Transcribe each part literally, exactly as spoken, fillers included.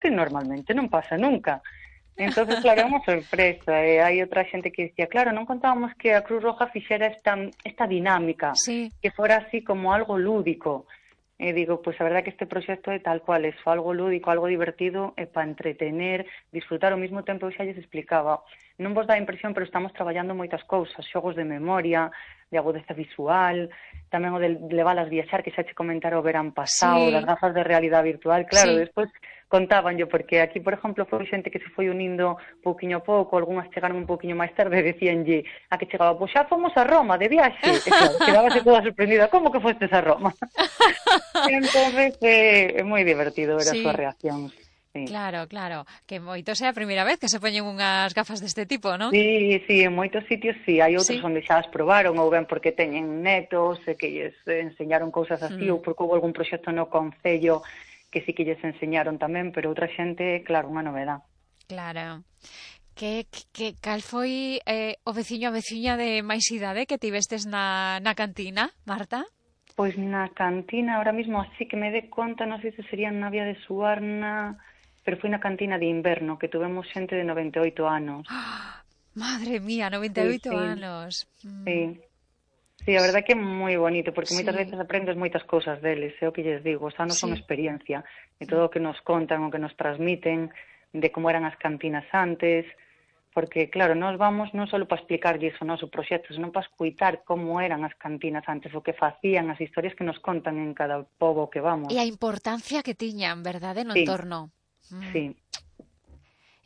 que normalmente non pasa nunca. Entonces, claro, é unha sorpresa. E hai outra xente que dicía, claro, non contábamos que a Cruz Roja fixera esta, esta dinámica, Sí. que fora así como algo lúdico. E digo, pois pues, a verdade que este proxecto é tal cual, é algo lúdico, algo divertido, é para entretener, disfrutar ao mesmo tempo. Eu xa lles explicaba, non vos dá a impresión, pero estamos traballando moitas cousas, xogos de memoria, de agudeza visual, tamén o de leválas viaxar, que xa che comentara o verán pasado, Sí. das gafas de realidade virtual, claro, Sí. despois contaban yo, porque aquí, por exemplo, foi xente que se foi unindo pouquiño a pouco, algunhas chegaron un pouquiño máis tarde e decíanlle a que chegaba, pois xa fomos a Roma de viaxe, e claro, quedábase toda sorprendida, como que fostes a Roma? Entonces, é, é moi divertido ver as Sí. súas reaccións. Sí. Claro, claro, que moitos é a primeira vez que se poñen unhas gafas deste tipo, non? Sí, sí, en moitos sitios sí, hai outros Sí. onde xa as probaron, ou ben porque teñen netos e que lles enseñaron cousas así, Mm. ou porque houve algún proxecto no concello que sí que lles enseñaron tamén, pero outra xente, claro, unha novedad. Claro. Que, que cal foi eh, o veciño a veciña de máis idade que tivestes na, na cantina, Marta? Pois na cantina, ahora mismo, así que me dé conta, non sei se sería na Vía de Suarna, pero foi na cantina de inverno, que tuvemos xente de noventa e oito anos. ¡Oh! Madre mía, noventa e oito sí, sí, anos. Mm. Sí. Sí, a verdade que é moi bonito, porque Sí. moitas veces aprendes moitas cousas deles, é o que lles digo, os anos Sí. son experiencia, e todo o que nos contan, o que nos transmiten, de como eran as cantinas antes, porque, claro, nós vamos non só para explicarlles o noso proxecto, senón para escuitar como eran as cantinas antes, o que facían, as historias que nos contan en cada pobo que vamos. E a importancia que tiñan, verdade, no Sí. entorno. Mm. Sí.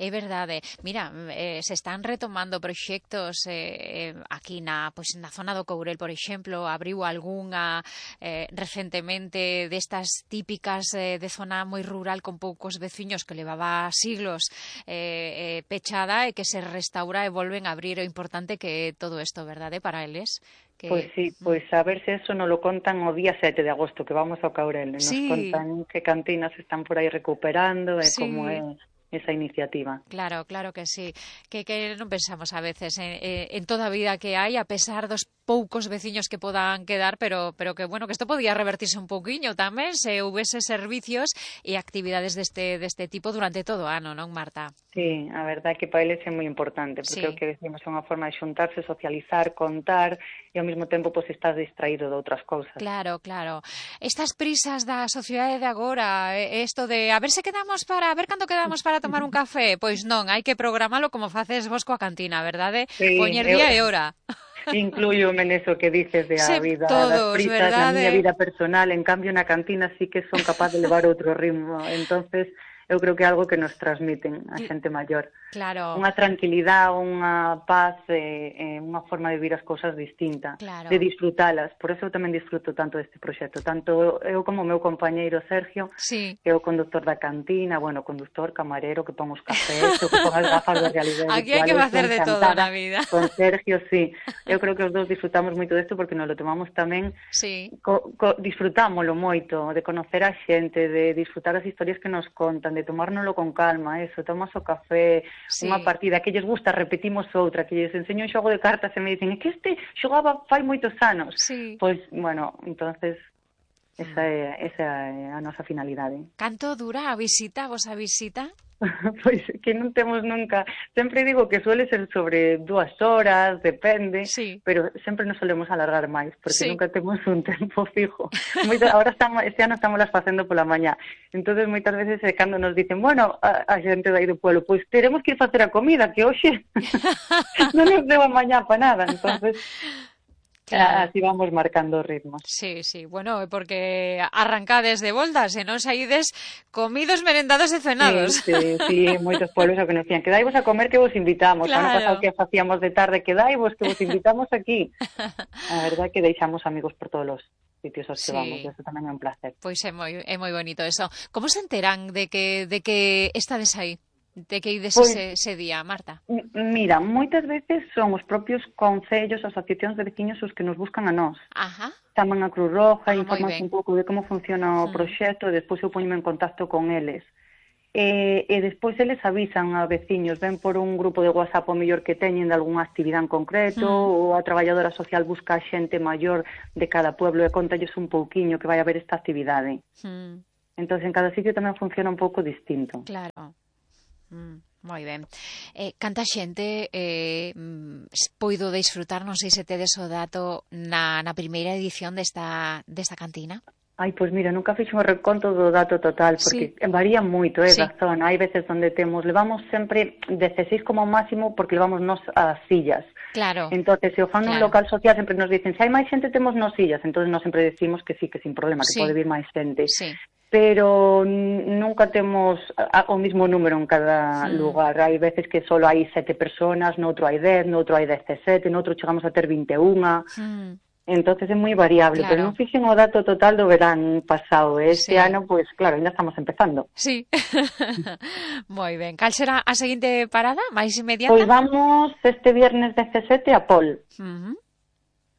É verdade. Mira, eh, se están retomando proxectos eh, aquí na, pois, na zona do Courel, por exemplo, abriu algunha eh, recentemente destas típicas eh, de zona moi rural con poucos veciños que levaba siglos eh, eh, pechada e que se restaura e volven a abrir. O importante que é todo isto, verdade, para eles? Que... Pois sí, pois a ver se eso nos lo contan o día sete de agosto, que vamos ao Caurel. Nos sí. contan que cantinas están por aí recuperando e sí. como é esa iniciativa. Claro, claro que sí. Que, que non pensamos a veces en, en toda a vida que hai, a pesar dos poucos veciños que podan quedar, pero pero que, bueno, que isto podía revertirse un pouquiño tamén se houvese servicios e actividades deste deste tipo durante todo o ano, non, Marta? Sí, a verdade é que para eles é moi importante, porque sí. o que decimos é unha forma de xuntarse, socializar, contar, e ao mesmo tempo pois estás distraído de outras cousas. Claro, claro. Estas prisas da sociedade de agora, isto de a ver se quedamos para, a ver cando quedamos para tomar un café, pois non, hai que programalo como faces vos coa cantina, verdade? Sí, poñer día eu... e hora. Incluyo-me neso que dices de a sí, vida, todos, das prisas, verdade? na miña vida personal, en cambio na cantina sí que son capaz de levar outro ritmo, entonces eu creo que é algo que nos transmiten a xente maior. Claro. Unha tranquilidade, unha paz, e, e unha forma de vivir as cousas distinta, claro. de disfrutalas. Por eso eu tamén disfruto tanto deste proxecto, tanto eu como o meu compañeiro Sergio, sí. que é o conductor da cantina, bueno, conductor, camarero, que pon os cafés, que pon as gafas de realidade virtual. Aquí hai que facer de todo na vida. Con Sergio, sí. Eu creo que os dous disfrutamos moito desto porque nos lo tomamos tamén, sí. co, co, disfrutámoslo moito, de conocer a xente, de disfrutar as historias que nos contan, de tomárnoslo con calma, eso, tomas o café, sí. unha partida que lles gusta, repetimos outra, que lles enseño un xogo de cartas e me dicen, é que este xogaba fai moitos anos. Sí. Pois, bueno, entonces esa é, esa é a nosa finalidade. Canto dura a visita, vos a visita? Pois que non temos nunca, sempre digo que suele ser sobre dúas horas, depende, sí. pero sempre nos solemos alargar máis, porque sí. nunca temos un tempo fijo. Moita, ahora estamos, este ano estamos las facendo pola mañá, entonces moitas veces é cando nos dicen, bueno, a, a xente dai do pueblo, pois teremos que ir facer a comida, que hoxe non nos deu a mañá para nada, entonces... Claro. Así vamos marcando ritmos. Sí, sí, bueno, porque arrancades de voltas e non saídes comidos, merendados e cenados. Sí, sí, sí, moitos pueblos o que nos decían, quedaivos a comer que vos invitamos. Claro. Ano pasado que facíamos de tarde, quedaivos que vos invitamos aquí. A verdade que deixamos amigos por todos os sitios aos que sí. vamos, eso tamén é un placer. Pois é moi, é moi bonito eso. Como se enteran de que, de que estades aí? De que ides pues, ese, ese día, Marta? Mira, moitas veces son os propios concellos, asociacións de veciños os que nos buscan a nós. Ajá. Chaman a Cruz Roja, ah, informan un pouco de como funciona o proxecto, e despois eu poñome en contacto con eles. E, e despois eles avisan a veciños, ven por un grupo de WhatsApp o mellor que teñen de algunha actividade en concreto, mm. ou a traballadora social busca a xente maior de cada pueblo e contalles un pouquiño que vai haber esta actividade. Mm. Entón, en cada sitio tamén funciona un pouco distinto. Claro. Mm. Moi ben. Eh, canta xente eh, poido disfrutar, non sei se tedes o dato, na, na primeira edición desta, desta cantina? Ai, pois mira, nunca fixo un reconto do dato total, porque sí. varía moito, eh, sí. da zona. Hai veces onde temos, levamos sempre dezasseis como máximo, porque levamos nos as sillas. Claro. Entonces, se o fan claro. nun local social, sempre nos dicen, se hai máis xente, temos nos sillas. Entonces, nos sempre decimos que sí, que sin problema, que sí. pode vir máis xente. Sí. Pero nunca temos o mismo número en cada sí. lugar. Hai veces que só hai sete personas, noutro hai dez, noutro hai dezasete, noutro chegamos a ter vinte e unha. Sí. Entonces é moi variable, claro. pero non fixen o dato total do verán pasado. Este sí. ano, pois, pues, claro, ainda estamos empezando. Sí. Moi ben. Cal será a seguinte parada, máis inmediata? Pois vamos este viernes dezasete a Pol. Uh -huh.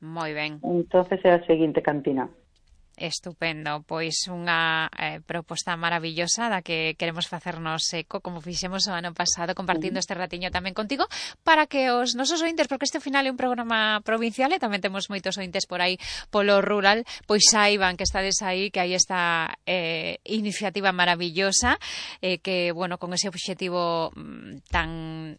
Moi ben. Entonces é a seguinte cantina. Estupendo, pois unha eh, proposta maravillosa da que queremos facernos eco, como fixemos o ano pasado, compartindo este ratiño tamén contigo, para que os nosos ointes, porque este ao final é un programa provincial e tamén temos moitos ointes por aí polo rural, pois saiban que estades aí, que hai esta eh, iniciativa maravillosa, eh, que, bueno, con ese obxectivo mm, tan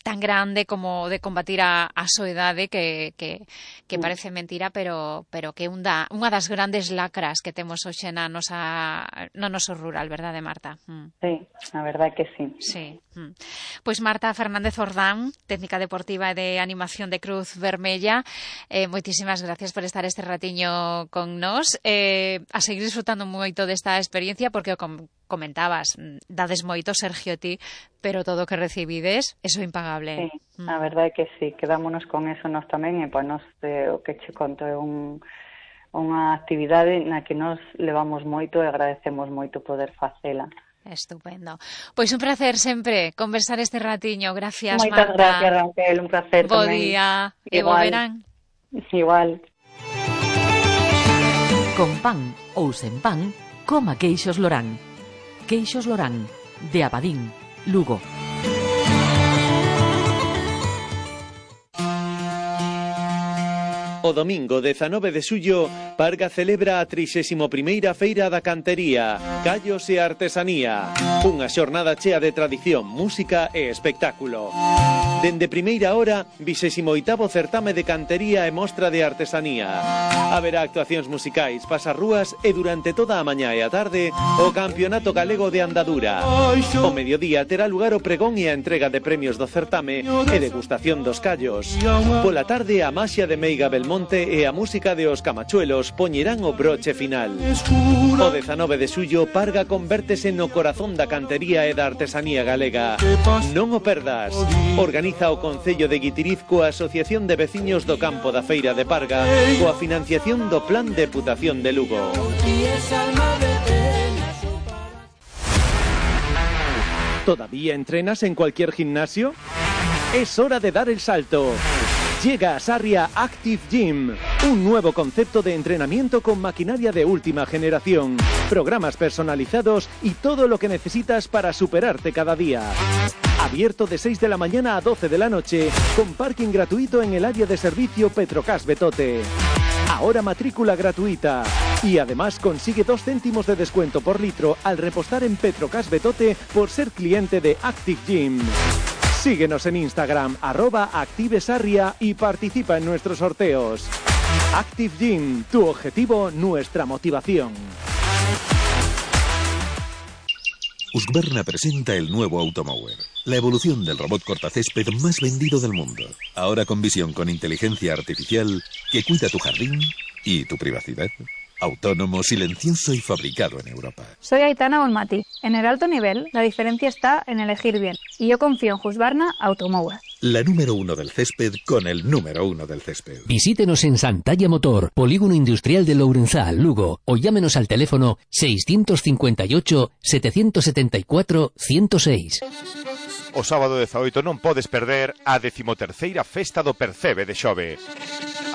tan grande como de combatir a, a soedade que, que, que parece mentira, pero pero que un da, unha das grandes lacras que temos hoxe na nosa, no noso rural, verdade, Marta? Mm. Sí, a verdade que sí. Sí. Mm. Pois Marta Fernández Ordán, técnica deportiva e de animación de Cruz Vermella, eh, moitísimas gracias por estar este ratiño con nós, eh, a seguir disfrutando moito desta experiencia, porque o com comentabas, dades moito, Sergio, ti, pero todo o que recibides, eso é impagable. Sí, mm. a verdade é que sí, quedámonos con eso nós tamén, e pois nos, eh, o que che conto é un, unha actividade na que nos levamos moito e agradecemos moito poder facela. Estupendo. Pois un placer sempre conversar este ratiño. Gracias, Moitas Marta. Moitas gracias, Raquel, un placer bo tamén. Bo día, e bo verán. Igual. Con pan ou sen pan, coma queixos Lorán. Queixos Lorán, de Abadín, Lugo. O domingo dezanove de xullo, Parga celebra a trixésima primeira Feira da Cantería, Callos e Artesanía. Unha xornada chea de tradición, música e espectáculo. Dende primeira hora, vixésimo oitavo certame de cantería e mostra de artesanía. Haberá actuacións musicais, pasarrúas e durante toda a mañá e a tarde o Campeonato Galego de Andadura. O mediodía terá lugar o pregón e a entrega de premios do certame e degustación dos callos. Pola tarde a maxia de Meiga Belmonte e a música de os Camachuelos poñerán o broche final. O dezanove de xullo, Parga convértese no corazón da cantería e da artesanía galega. Non o perdas. Organiza o Concello de Guitiriz coa Asociación de Veciños do Campo da Feira de Parga coa financiación do Plan de Deputación de Lugo. ¿Todavía entrenas en cualquier gimnasio? Es hora de dar el salto. Llega a Sarria Active Gym, un nuevo concepto de entrenamiento con maquinaria de última generación, programas personalizados y todo lo que necesitas para superarte cada día. Abierto de seis de la mañana a doce de la noche, con parking gratuito en el área de servicio Petrocas Betote. Ahora matrícula gratuita. Y además consigue dos céntimos de descuento por litro al repostar en Petrocas Betote por ser cliente de Active Gym. Síguenos en Instagram, arroba ActiveSarria, y participa en nuestros sorteos. Active Gym, tu objetivo, nuestra motivación. Husqvarna presenta el nuevo Automower, la evolución del robot cortacésped más vendido del mundo. Ahora con visión con inteligencia artificial que cuida tu jardín y tu privacidad. Autónomo, silencioso y fabricado en Europa. Soy Aitana Olmati. En el alto nivel, la diferencia está en elegir bien. Y yo confío en Husqvarna Automower. La número uno del césped con el número uno del césped. Visítenos en Santalla Motor, Polígono Industrial de Lourenzal, Lugo, o llámenos al teléfono seiscientos cincuenta y ocho, setecientos setenta y cuatro, ciento seis. O sábado dezaoito non podes perder a decimoterceira Festa do Percebe de Xove.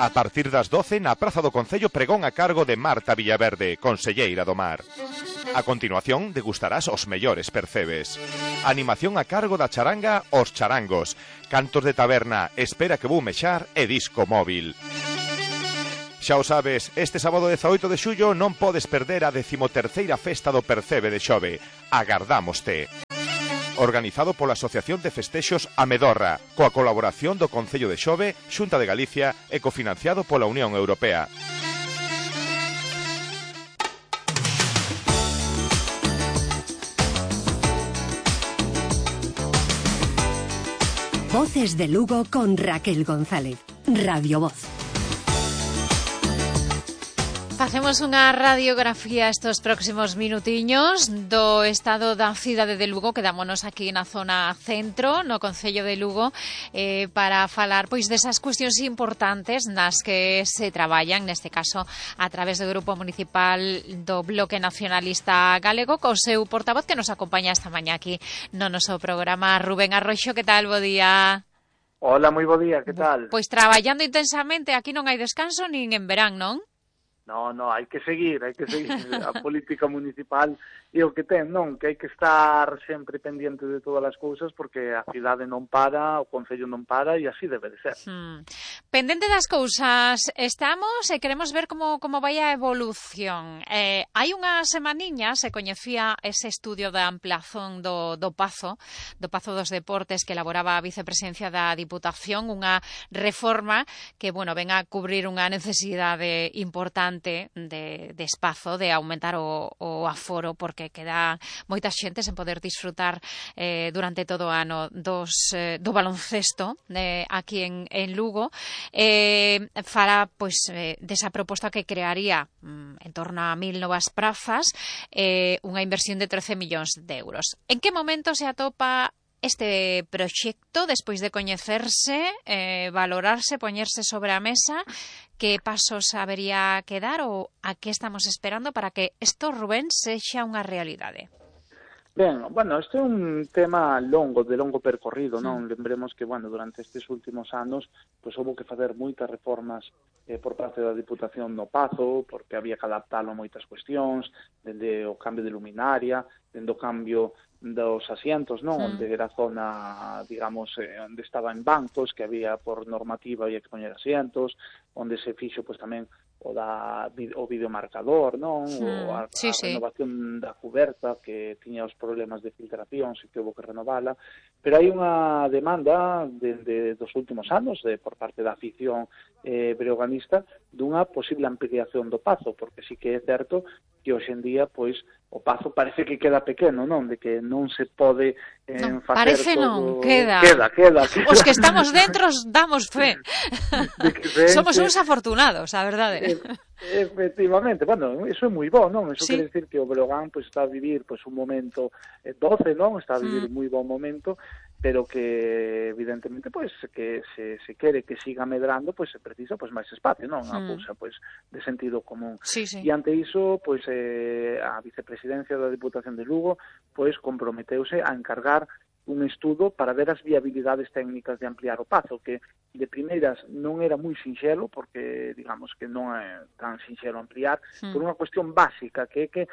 A partir das doce na Praza do Concello, pregón a cargo de Marta Villaverde, conselleira do Mar. A continuación degustarás os mellores percebes. Animación a cargo da charanga Os Charangos, cantos de taberna, espera que vou mexar e disco móvil. Xa o sabes, este sábado dezaoito de xullo non podes perder a decimoterceira festa do Percebe de Xove. Agardámoste. Organizado pola Asociación de Festexos Amedorra, coa colaboración do Concello de Xove, Xunta de Galicia e cofinanciado pola Unión Europea. Voces de Lugo con Raquel González. Radio Voz. Facemos unha radiografía estes próximos minutiños do estado da cidade de Lugo. Quedámonos aquí na zona centro, no Concello de Lugo, eh, para falar pois desas cuestións importantes nas que se traballan, neste caso a través do Grupo Municipal do Bloque Nacionalista Galego, co seu portavoz que nos acompaña esta mañá aquí no noso programa, Rubén Arroxo. Que tal, bo día? Hola, moi bo día, que tal? Pois traballando intensamente, aquí non hai descanso nin en verán, non? No, no, hai que seguir, hai que seguir a política municipal e o que ten, non? Que hai que estar sempre pendiente de todas as cousas porque a cidade non para, o Concello non para e así debe de ser. Hmm. Pendente das cousas estamos e queremos ver como, como vai a evolución. Eh, hai unha semaniña se coñecía ese estudio da ampliación do, do Pazo, do Pazo dos Deportes que elaboraba a Vicepresidencia da Diputación, unha reforma que, bueno, ven a cubrir unha necesidade importante de, de espazo, de aumentar o, o aforo, porque queda moita xente sen poder disfrutar eh, durante todo o ano dos, eh, do baloncesto eh, aquí en, en Lugo. Eh, fará pois, eh, desa proposta que crearía mm, en torno a mil novas prazas, eh, unha inversión de trece millóns de euros. En que momento se atopa este proxecto despois de coñecerse, eh, valorarse, poñerse sobre a mesa? Que pasos habería que dar ou a que estamos esperando para que isto, Rubén, sexa unha realidade? Ben, bueno, este é un tema longo, de longo percorrido, non? Mm. Lembremos que, bueno, durante estes últimos anos, pois houve que facer moitas reformas eh, por parte da Diputación no Pazo, porque había que adaptalo a moitas cuestións, dende o cambio de luminaria, dende o cambio dos asientos, non? Mm. Onde era zona, digamos, eh, onde estaban bancos, que había por normativa había que poñer asientos, onde se fixo, pois tamén, o da o videomarcador, non? Mm, o a, sí, a renovación sí. da cuberta que tiña os problemas de filtración, se que houve que renovala, pero hai unha demanda dende dos últimos anos de por parte da afición eh, breoganista dunha posible ampliación do Pazo, porque sí que é certo que hoxe en día, pois, o Pazo parece que queda pequeno, non? De que non se pode eh, non, facer parece todo... non, queda. Queda, queda, queda. Os que estamos dentro damos fe. Somos uns afortunados, a verdade. E, efectivamente, bueno, eso é moi bo, non? Eso sí. quere decir que o Breogán pois, está a vivir pois, un momento eh, doce, non? Está a vivir mm. un moi bon momento, pero que evidentemente pois que se, se quere que siga medrando, pois se precisa pois máis espacio, non? Unha mm. cousa pois de sentido común. Sí, sí. E ante iso, pois eh, a Vicepresidencia da Diputación de Lugo pois comprometeuse a encargar un estudo para ver as viabilidades técnicas de ampliar o Pazo, que de primeiras non era moi sinxelo, porque digamos que non é tan sinxelo ampliar, mm. por unha cuestión básica, que é que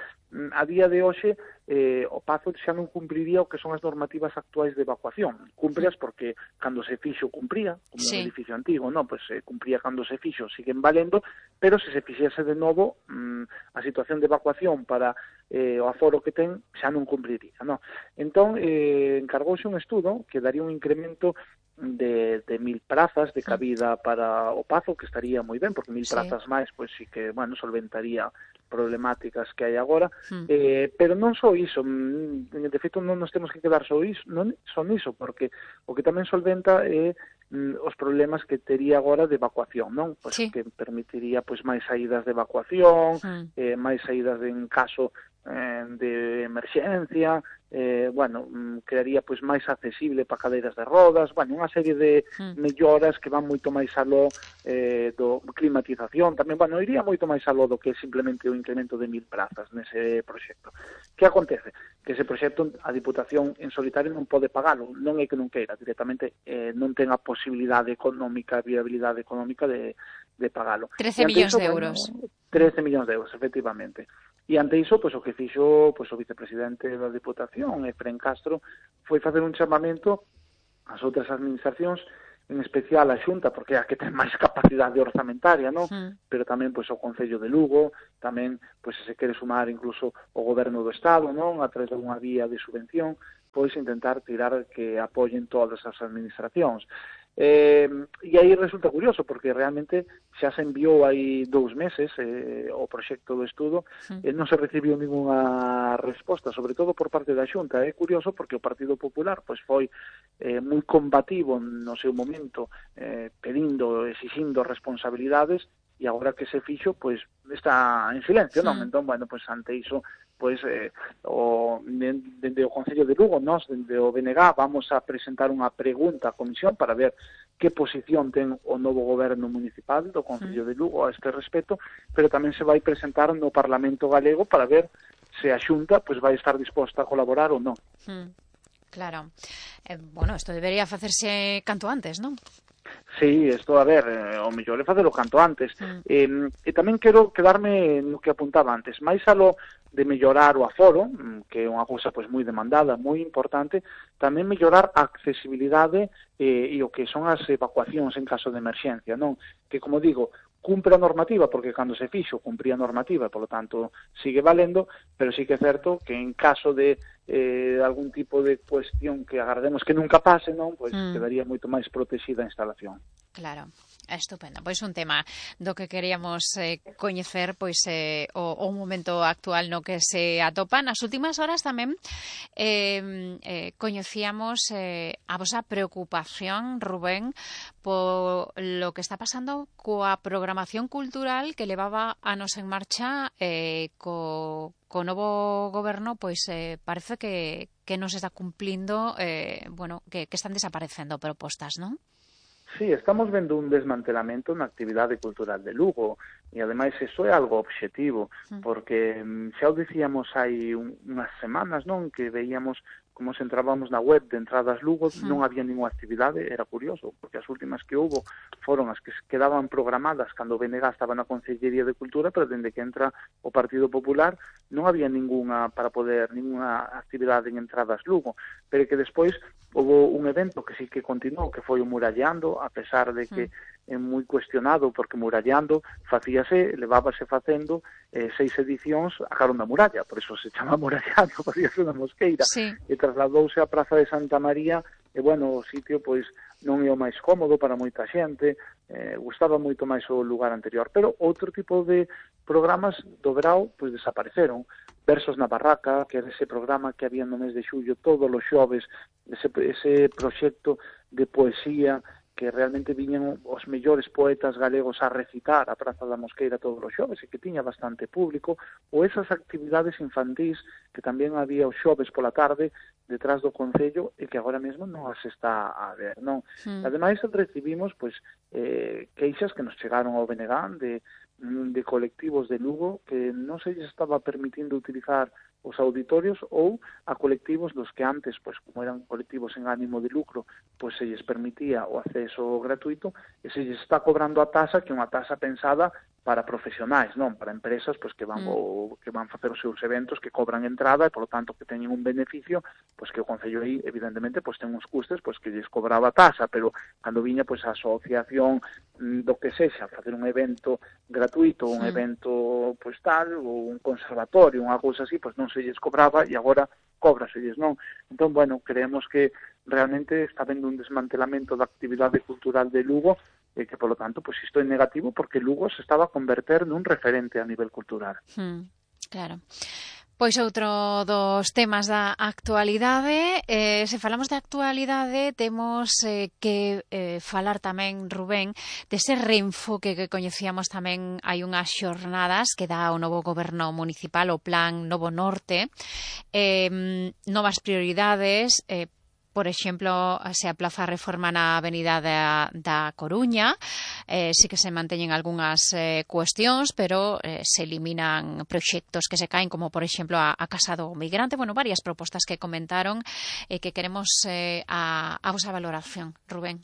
a día de hoxe eh, o Pazo xa non cumpriría o que son as normativas actuais de evacuación. Cumprias porque cando se fixo cumpría, como sí. un edificio antigo, non? Pois se cumpría cando se fixo, siguen valendo, pero se se fixese de novo mmm, a situación de evacuación para eh, o aforo que ten xa non cumpriría, non? Entón, eh, encargouse un estudo que daría un incremento de, de mil prazas de cabida para o Pazo, que estaría moi ben, porque mil sí. prazas máis, pois sí que, bueno, solventaría problemáticas que hai agora, mm. eh, pero non só iso, de feito non nos temos que quedar só iso, non son iso, porque o que tamén solventa é mm, os problemas que tería agora de evacuación, non? Pois sí. que permitiría pois máis saídas de evacuación, mm. eh, máis saídas de, en caso eh, de emerxencia, eh, bueno, crearía pois máis accesible para cadeiras de rodas, bueno, unha serie de mm. melloras que van moito máis aló eh, do climatización, tamén, bueno, iría moito máis aló do que simplemente o incremento de mil prazas nese proxecto. Que acontece? Que ese proxecto a Diputación en solitario non pode pagalo, non é que non queira, directamente eh, non ten a posibilidade económica, a viabilidade económica de, de pagalo. trece millóns de euros. Bueno, trece millóns de euros, efectivamente. E ante iso, pois, o que fixo pois, o vicepresidente da Diputación, Efrén Castro, foi facer un chamamento ás outras administracións en especial a Xunta, porque é a que ten máis capacidade orzamentaria, non? Mm. Pero tamén pois o Concello de Lugo, tamén pois se se quere sumar incluso o Goberno do Estado, non? A través de unha vía de subvención, pois intentar tirar que apoyen todas as administracións. Eh, e aí resulta curioso porque realmente xa se enviou aí dous meses eh, o proxecto do estudo sí. e non se recibiu ninguna resposta, sobre todo por parte da Xunta. É curioso porque o Partido Popular pois foi eh, moi combativo no seu momento, eh, pedindo, exixindo responsabilidades, e agora que se fixo, pois está en silencio, sí. non? Entón, bueno, pois ante iso, pois eh, o, dende o Concello de Lugo, nós, dende o B N G, vamos a presentar unha pregunta á Comisión para ver que posición ten o novo goberno municipal do Concello de Lugo a este respecto, pero tamén se vai presentar no Parlamento Galego para ver se a Xunta pois vai estar disposta a colaborar ou non. Mm, claro. Eh, bueno, isto debería facerse canto antes, non? Sí, isto, a ver, eh, o mellor é facelo canto antes. Mm. Eh, e tamén quero quedarme no que apuntaba antes, máis alo de mellorar o aforo, que é unha cousa pois moi demandada, moi importante, tamén mellorar a accesibilidade eh, e o que son as evacuacións en caso de emerxencia, non? Que, como digo, cumpre a normativa, porque cando se fixo cumpría a normativa, e, polo tanto, sigue valendo, pero sí que é certo que en caso de eh, algún tipo de cuestión que agardemos que nunca pase, non, pois mm. quedaría moito máis protexida a instalación. Claro. Estupendo, pois un tema do que queríamos eh, coñecer pois eh, o, o momento actual no que se atopa. Nas últimas horas tamén eh, eh, coñecíamos eh, a vosa preocupación, Rubén, por lo que está pasando coa programación cultural que levaba anos en marcha eh, co, co novo goberno, pois eh, parece que, que non se está cumplindo, eh, bueno, que, que están desaparecendo propostas, non? Sí, estamos vendo un desmantelamento na actividade cultural de Lugo e, ademais, iso é algo obxectivo, porque xa o dicíamos hai un, unhas semanas, non, que veíamos como se entrábamos na web de Entradas Lugo, sí. non había ninguna actividade, era curioso, porque as últimas que houve foron as que quedaban programadas cando o B N G estaba na Consellería de Cultura, pero dende que entra o Partido Popular non había ninguna para poder, ninguna actividade en Entradas Lugo, pero que despois houve un evento que sí que continuou, que foi o Murallando, a pesar de que é moi cuestionado, porque Murallando facíase, levábase facendo eh, seis edicións a carón da muralla, por eso se chama Murallando, facíase na Mosqueira, sí. e trasladouse á Praza de Santa María, e, bueno, o sitio, pois, non é o máis cómodo para moita xente, eh, gustaba moito máis o lugar anterior, pero outro tipo de programas do verao, pois, desapareceron. Versos na Barraca, que era ese programa que había no mes de xullo todos os xoves, ese, ese proxecto de poesía que realmente viñan os mellores poetas galegos a recitar a Praza da Mosqueira todos os xoves e que tiña bastante público, ou esas actividades infantís que tamén había os xoves pola tarde detrás do Concello e que agora mesmo non as está a ver, non? Mm. Ademais, recibimos pois eh, queixas que nos chegaron ao B N G de, de colectivos de Lugo que non se lles estaba permitindo utilizar os auditorios ou a colectivos dos que antes, pois como eran colectivos en ánimo de lucro, pois se lles permitía o acceso gratuito e se lles está cobrando a tasa, que é unha tasa pensada para profesionais, non para empresas pois que van mm. o, que van facer os seus eventos, que cobran entrada e, polo tanto, que teñen un beneficio, pois que o Concello aí, evidentemente, pois ten uns custes pois que lles cobraba a tasa, pero cando viña pois a asociación do que sexa, facer un evento gratuito, un mm. evento pois tal, ou un conservatorio, unha cousa así, pois non se lles cobraba e agora cóbraselles, non? Entón, bueno, creemos que realmente está vendo un desmantelamento da actividade cultural de Lugo e que, polo tanto, pois isto é negativo porque Lugo se estaba a converter nun referente a nivel cultural. Hmm, claro. Pois outro dos temas da actualidade, eh, se falamos de actualidade, temos eh, que eh, falar tamén, Rubén, dese reenfoque que coñecíamos tamén hai unhas xornadas que dá o novo goberno municipal, o Plan Novo Norte, eh, novas prioridades, eh, por exemplo, se aplaza a reforma na avenida da, da Coruña, eh, sí que se manteñen algunhas eh, cuestións, pero eh, se eliminan proxectos que se caen, como, por exemplo, a, a Casa do Migrante. Bueno, varias propostas que comentaron e eh, que queremos eh, a, a vosa valoración, Rubén.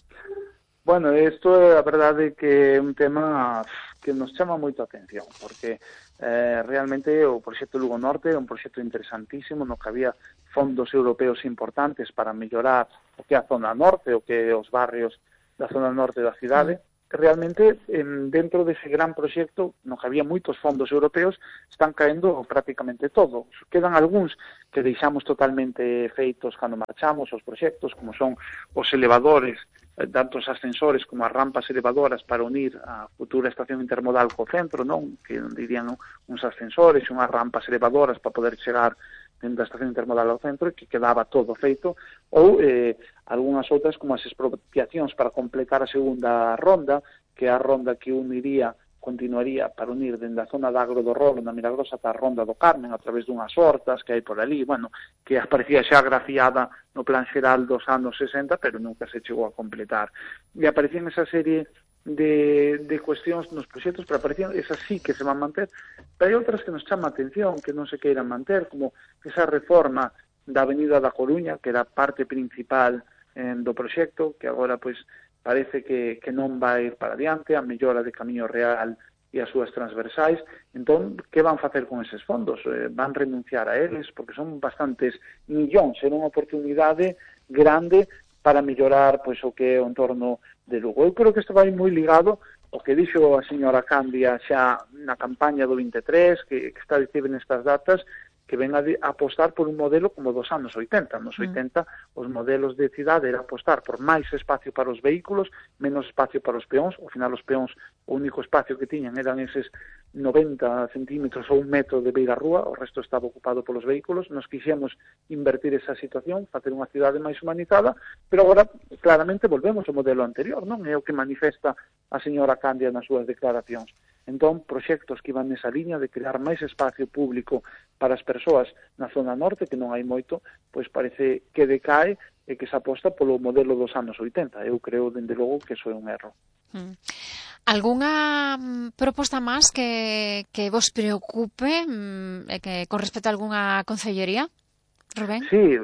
Bueno, isto é a verdade que é un tema que nos chama moito a atención, porque eh, realmente o proxecto Lugo Norte é un proxecto interesantísimo no que había fondos europeos importantes para mellorar o que é a zona norte, o que é os barrios da zona norte da cidade, que realmente en, dentro dese gran proxecto, no que había moitos fondos europeos, están caendo prácticamente todo. Quedan algúns que deixamos totalmente feitos cando marchamos os proxectos, como son os elevadores, tanto os ascensores como as rampas elevadoras para unir a futura estación intermodal co centro, non? Que dirían uns ascensores e unhas rampas elevadoras para poder chegar dentro da estación intermodal ao centro, que quedaba todo feito, ou eh, algunhas outras como as expropiacións para completar a segunda ronda, que é a ronda que uniría, continuaría para unir dende a zona da Agro do Rolo, na Milagrosa, ata a ronda do Carmen, a través dunhas hortas que hai por ali, bueno, que aparecía xa grafiada no plan xeral dos anos sesenta, pero nunca se chegou a completar. E aparecían esa serie de, de cuestións nos proxectos, pero aparecían, esas sí que se van manter, pero hai outras que nos chama a atención, que non se queiran manter, como esa reforma da Avenida da Coruña, que era parte principal eh, do proxecto, que agora, pois, parece que, que non vai para adiante, a mellora de Camiño Real e as súas transversais. Entón, que van facer con eses fondos? Eh, van renunciar a eles, porque son bastantes millóns, é unha oportunidade grande para mellorar pois, o que é o entorno de Lugo. Eu creo que isto vai moi ligado ao que dixo a señora Candia xa na campaña do vinte e tres, que, que está a dicir nestas datas, que ven a, de, a apostar por un modelo como dos anos oitenta. Nos oitenta, mm. os modelos de cidade era apostar por máis espacio para os vehículos, menos espacio para os peóns. Ao final, os peóns, o único espacio que tiñan eran eses noventa centímetros ou un metro de beira rúa, o resto estaba ocupado polos vehículos. Nos quixemos invertir esa situación, facer unha cidade máis humanizada, pero agora, claramente, volvemos ao modelo anterior, non? É o que manifesta a señora Candia nas súas declaracións. Entón, proxectos que iban nesa liña de crear máis espacio público para as persoas na zona norte, que non hai moito, pois parece que decae e que se aposta polo modelo dos anos oitenta. Eu creo, dende logo, que iso é un erro. Mm. Algúnha proposta máis que, que vos preocupe mm, que con respecto a algunha concellería, Rubén? Sí,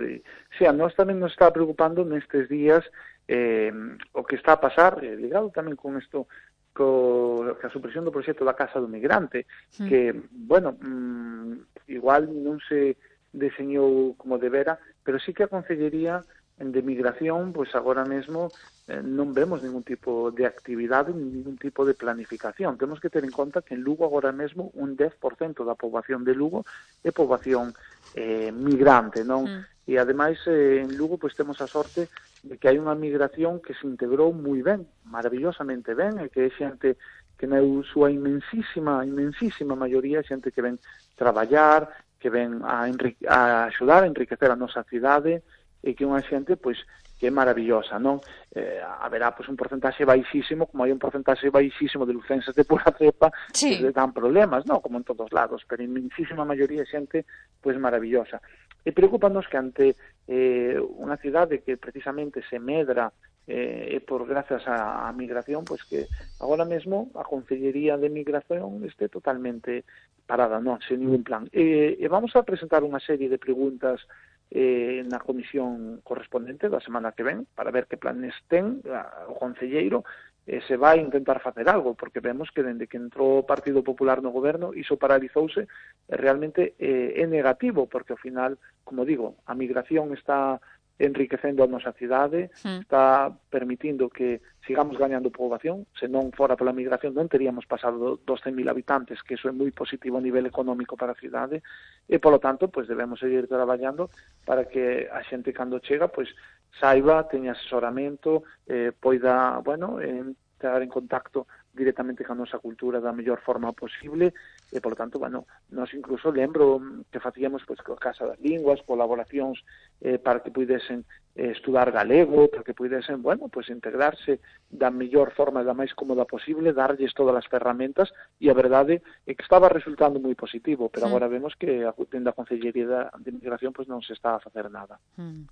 sí, a nós tamén nos está preocupando nestes días eh, o que está a pasar, eh, ligado tamén con isto, co a supresión do proxecto da Casa do Migrante, mm. que, bueno, mmm, igual non se deseñou como debera, pero sí que a Concellería de Migración, pois agora mesmo eh, non vemos ningún tipo de actividade, ningún tipo de planificación. Temos que ter en conta que en Lugo agora mesmo un dez por cento da poboación de Lugo é poboación eh, migrante, non? Mm. E ademais eh, en Lugo pois temos a sorte de que hai unha migración que se integrou moi ben, maravillosamente ben, e que é xente que na súa inmensísima, inmensísima maioría é xente que ven traballar, que ven a, a axudar a enriquecer a nosa cidade, e que unha xente, pois, que é maravillosa, non? Eh, haberá, pois, un porcentaxe baixísimo, como hai un porcentaxe baixísimo de lucenses de pura cepa, sí. que dan problemas, non? Como en todos lados, pero a inmensísima maioría é xente, pois, maravillosa. E preocupanos que ante eh, unha cidade que precisamente se medra eh, por grazas á, á migración, pois que agora mesmo a Concellería de Migración este totalmente parada, non, sen ningún plan. E, e vamos a presentar unha serie de preguntas eh, na comisión correspondente da semana que ven, para ver que planes ten a, o concelleiro, eh, se vai intentar facer algo, porque vemos que dende que entrou o Partido Popular no goberno, iso paralizouse, e realmente eh, é negativo, porque ao final, como digo, a migración está enriquecendo a nosa cidade, mm. está permitindo que sigamos gañando poboación. Se non fora pola migración non teríamos pasado dos cen mil habitantes, que iso é moi positivo a nivel económico para a cidade, e polo tanto, pois debemos seguir traballando para que a xente cando chega, pois saiba, teña asesoramento, eh, poida, bueno, entrar en contacto directamente ca nosa cultura da mellor forma posible, e, polo tanto, bueno, nós incluso lembro que facíamos, pois, coa Casa das Linguas, colaboracións eh, para que pudesen eh, estudar galego, para que pudesen, bueno, pois, integrarse da mellor forma, da máis cómoda posible, darlles todas as ferramentas, e a verdade é que estaba resultando moi positivo, pero mm. agora vemos que a, dentro da Concellería de Migración, pois, non se está a facer nada. Mm.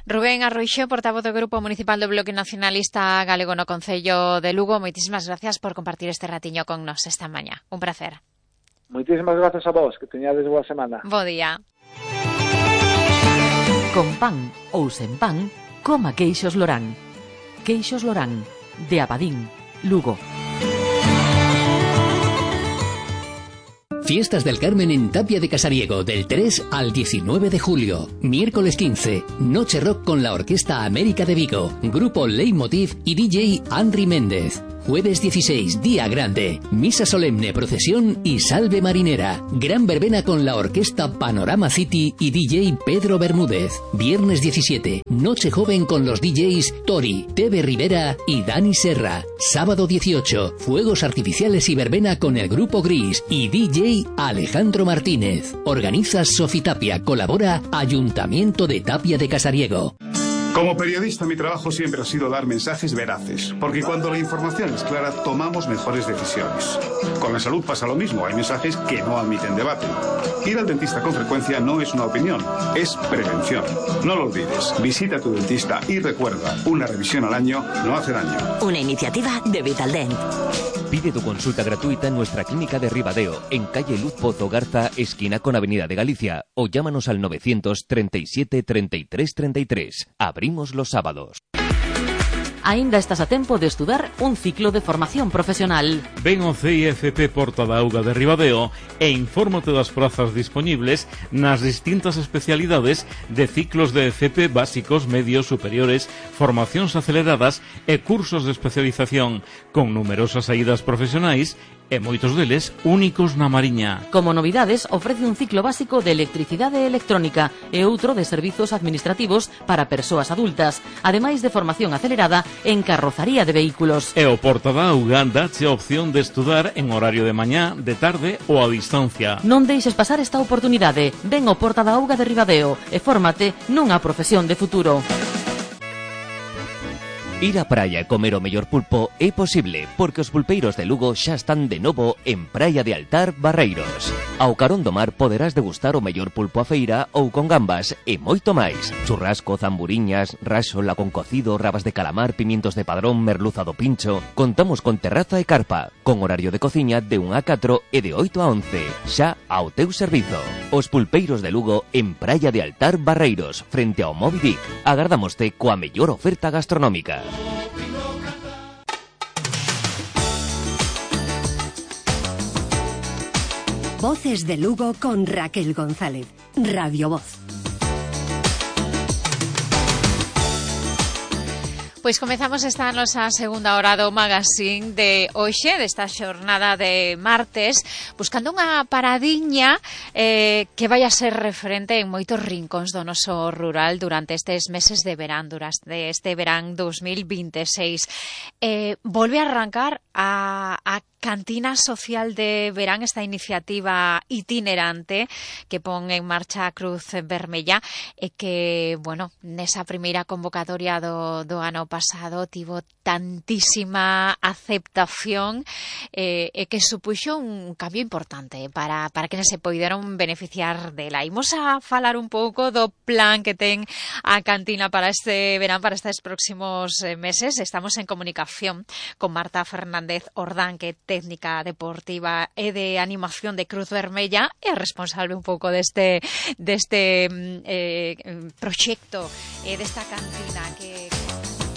Rubén Arroixo, portavoz do Grupo Municipal do Bloque Nacionalista Galego no Concello de Lugo, moitísimas gracias por compartir este ratiño con nos esta mañá. Un placer. Moitísimas gracias a vos, que teñades boa semana. Bo día. Con pan ou sen pan, coma queixos Lorán. Queixos Lorán, de Abadín, Lugo. Fiestas del Carmen en Tapia de Casariego del tres al diecinueve de julio. Miércoles quince, Noche Rock con la Orquesta América de Vigo, Grupo Leitmotiv y D J Henry Méndez. Jueves dieciséis, Día Grande, Misa Solemne, Procesión y Salve Marinera. Gran verbena con la Orquesta Panorama City y D J Pedro Bermúdez. Viernes diecisiete, Noche Joven con los D Js Tori, Tebe Rivera y Dani Serra. Sábado dieciocho, Fuegos Artificiales y verbena con el Grupo Gris y D J Alejandro Martínez. Organiza Sofitapia, colabora Ayuntamiento de Tapia de Casariego. Como periodista, mi trabajo siempre ha sido dar mensajes veraces, porque cuando la información es clara, tomamos mejores decisiones. Con la salud pasa lo mismo, hay mensajes que no admiten debate. Ir al dentista con frecuencia no es una opinión, es prevención. No lo olvides, visita a tu dentista y recuerda, una revisión al año no hace daño. Una iniciativa de Vitaldent. Pide tu consulta gratuita en nuestra clínica de Ribadeo, en calle Luz Pozo Garza, esquina con Avenida de Galicia, o llámanos al novecientos treinta y siete treinta y tres treinta y tres. Abrimos los sábados. Aínda estás a tempo de estudar un ciclo de formación profesional. Ven ao C I F P Porta da Auga de Ribadeo e infórmate das prazas dispoñibles nas distintas especialidades de ciclos de F P básicos, medios, superiores, formacións aceleradas e cursos de especialización, con numerosas saídas profesionais e moitos deles únicos na Mariña. Como novidades, ofrece un ciclo básico de electricidade e electrónica e outro de servizos administrativos para persoas adultas, ademais de formación acelerada en carrozaría de vehículos. E o Porta da Auga dache a opción de estudar en horario de mañá, de tarde ou a distancia. Non deixes pasar esta oportunidade. Ven ao Porta da Auga de Ribadeo e fórmate nunha profesión de futuro. Ir á praia e comer o mellor pulpo é posible, porque os pulpeiros de Lugo xa están de novo en Praia de Altar, Barreiros. Ao carón do mar poderás degustar o mellor pulpo a feira ou con gambas e moito máis. Churrasco, zamburiñas, raxola con cocido, rabas de calamar, pimientos de padrón, merluza do pincho. Contamos con terraza e carpa, con horario de cociña de un a catro e de oito a once, xa ao teu servizo. Os pulpeiros de Lugo en Praia de Altar, Barreiros, frente ao Moby Dick. Agardámoste coa mellor oferta gastronómica. Voces de Lugo con Raquel González. Radio Voz. Pois comezamos esta nosa segunda hora do magazine de hoxe, desta xornada de martes, buscando unha paradiña eh, que vai a ser referente en moitos rincóns do noso rural durante estes meses de verán, durante este verán dos mil veintiséis. Eh, volve a arrancar a, a Cantina Social de Verán, esta iniciativa itinerante que pon en marcha a Cruz Vermella e que, bueno, nesa primeira convocatoria do, do ano pasado tivo tantísima aceptación eh, e que supuxo un cambio importante para, para que se poideron beneficiar dela. Imos a falar un pouco do plan que ten a cantina para este verán, para estes próximos meses. Estamos en comunicación con Marta Fernández Ordán, que técnica deportiva e de animación de Cruz Vermella e responsable un pouco deste deste eh, proxecto e eh, desta cantina que